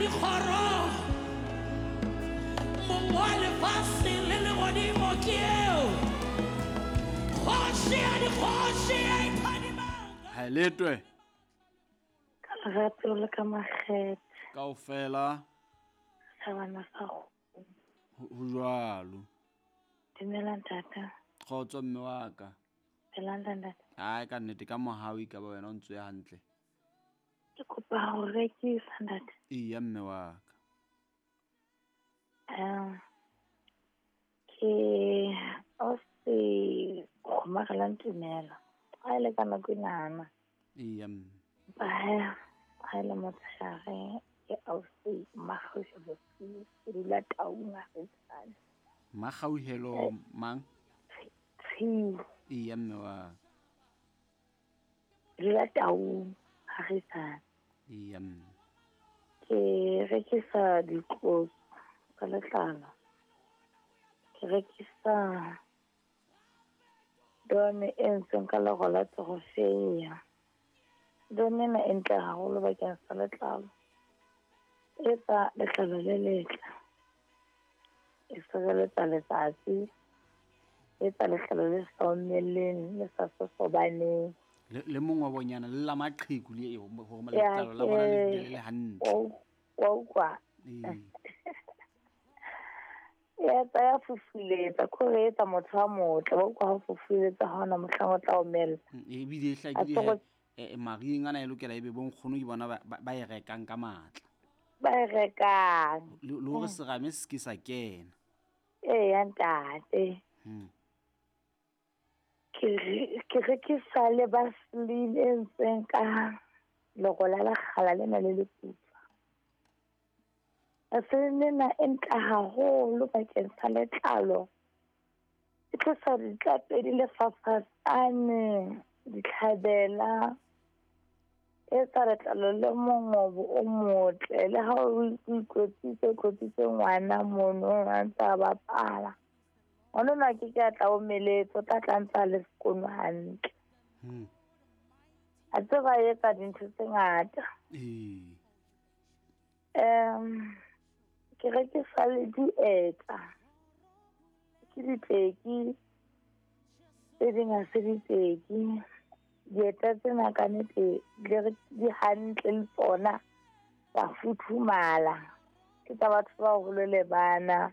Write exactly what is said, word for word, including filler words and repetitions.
dikgoro, mong wa lefatshe le legodimo ke eo. Kgoši ya dikgoši e phadimang. Ha letwe. Ka lerato le ka makgethe. Kaofela. Sa bana sa go. Ho jwalo. Dumela ntata. Kgotso mme wa ka. Phelang ntate. Ai ka nnete ka mohau ka ba wena o ntse hantle. Ke kopa ho rekisa ntate. Eya mme wa ka. Um ke o se kgomarela ntumela. Ha ile ka nako enana. Eya mme. Ba ha ile motshehare ke ausi Makgauhelo ke dula Taung Agisane. Makgauhelo mang? Tshiu. Eya mme wa. Dula Taung Agisane. Eya mme. Ke rekisa ditlotso tsa letlalo. Ke rekisa done e entsweng ka lero la torofeya. Done ena e ntle haholo bakeng sa letlalo. E etsa letlalo le letle. E sireletsa letsatsi. E etsa letlalo le sa omeleng, le sa sosobaneng. Le le mongwabonyana le la maqheku le e hore letlalo la bona le dule le hantle. Wa utlwa. Ee. E etsa ya fufuletsa, kore e etsa motho a motle. Wa utlwa ha o fufuletsa ha hona mohlang o tla omella. Ebile e hlakile e mariheng ana e lokela ebe bo nkgono ke bona ba e rekang ka matla. Ba e rekang. Le hore serame se ke sa kena. Eya ntate. Hmm. Ke ke rekisa le Vaseline e entsweng ka lero la lekgala lena le leputswa. Vaseline ena e ntle haholo bakeng sa letlalo. E tlosa ditlapedi le fafatsane, ditlhabela. E etsa letlalo le mongobo o motle. Le ha o ikwetlisa, o tlotsitse ngwana mono a ntse a bapala. Ngwana enwa a ke ke a tla omeletse, o tla tla ntse a le sekono hantle. Hmm. A tseba e etsa dintho tse ngata. Ee. Um ke rekisa le dieta. Ke diteki tse ding ha se diteki. Dieta tsena ka nnete di hantle le tsona, tsa futhumala. Ke tsa batho ba baholo le bana.